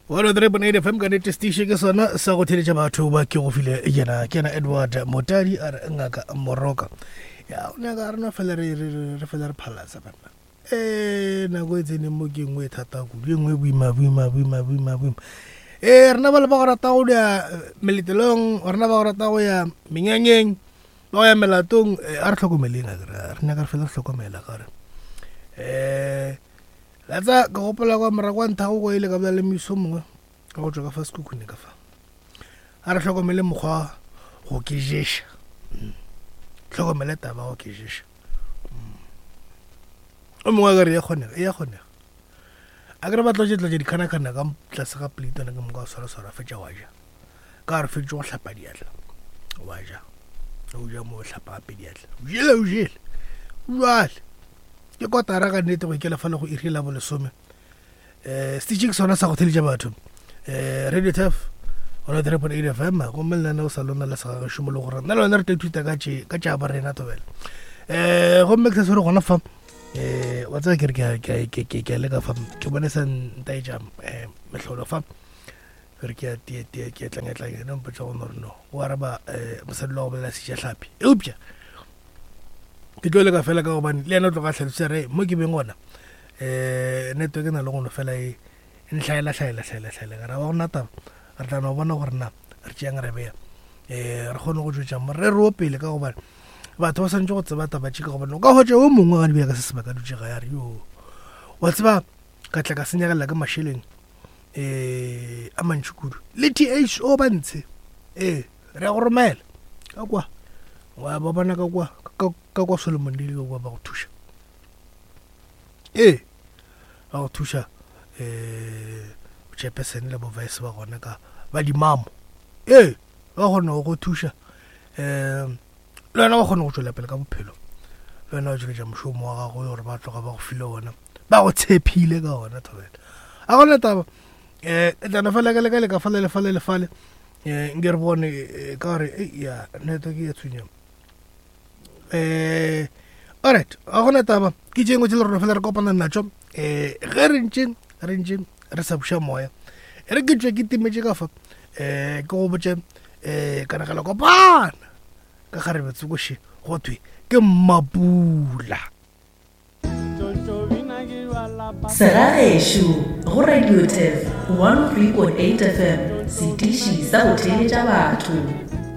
103.8 FM ka nete station ke sona sa go theletša batho ba ke go file yena ke yena Edward Motadi a re ngaka Moroka ya o nyaka re no fela re re re fela re phalatsa banna eh nako e tseneng mo ke nngwe e thata kudu e nngwe e boima boima boima boima boima eh rena ba le ba go rata go ya meletelong rena ba go rata go ya menyanyeng ba go ya melatong eh, a re tlhokomeleng a re nyaka re fela re hlokomela ka gore um La tsa ka gopola kwa morago kwa nthago go ile ka bolela le moiso mongwe ka go tšwa ka fa sekhukhune ka fa a re hlokomele mokgwa go ke ješa mm. hlokomele taba go ke ješa mm. o mongwe a ka re ya kgonega e ya kgonega a ke re ba tlotše tlotše dikhanakgana ka tlase ga plate one ke moka wa swara swara fetša wa ja ka re fetše go hlapa diatla wa ja o ja mo hlapa gape diatla o jele o jele jale ke kotara ka nnete go ikela fa le go iri la bolesome um setitši ke sona sa go theletša batho um radio tef gona 3.8 fm gomme lenane o sa lona la segagešo mo le gore nna le wena re tla ithuta ka tše ka tša ba rena tobela um gomme ke sa swere gona fa um wa tseba ke re ke a leka fa ke bone sa ntaetša um mehlolo fa re ke a tie ke tlangetlange no mpotsa go nore no o araba um mosadi wa go bolela sejatlhapi eupša ke tlo leka fela ka gobane le yena o tloga tlhalosa re mo ke beng gona um network e na le gono fela e ntlhaela hlaela hlaela hlaela ka ra wa gona taba re tla no bona gore na re tšeang re beya um re kgone go tšwetša morero o pele ka gobane batho ba swanetše go tseba taba tše ka gobane o ka hwetša o mongwe ga di ka se sebaka dutše ga ya re yo wa tseba ka tla ka senyegelela ke mašeleng um a mantši kudu le tho ba ntshe ee re ya go romela ka kwa wa ba bona ka kwa ka kwa solomon le ka kwa ba go thuša ee ba go thuša um chairperson le bo vice ba gona ka ba dimamo ee ba kgona go go thuša um le wena wa kgona go tšwela pele ka bophelo le wena wa tšweletša mošomo wa gago gore ba tloga ba go file ona ba go tshephile ka ona thobela a gona taba um tlana fela ka leka leka fale le fale le fale um nke re bone eh, ka gore ya network ya tshwenya um alright a gona taba ke tše ngwe tse le rona fela re kopana natšo um ge re ntše re ntše re sa buša moya e re ke tswe ke timetše ka fa um ke go botše um kanegelo kopana ka kgarebe tsokoše go thwe ke mmapula Segagešo go Radio Tef 103.8 FM, setiši sa go theeletša batho.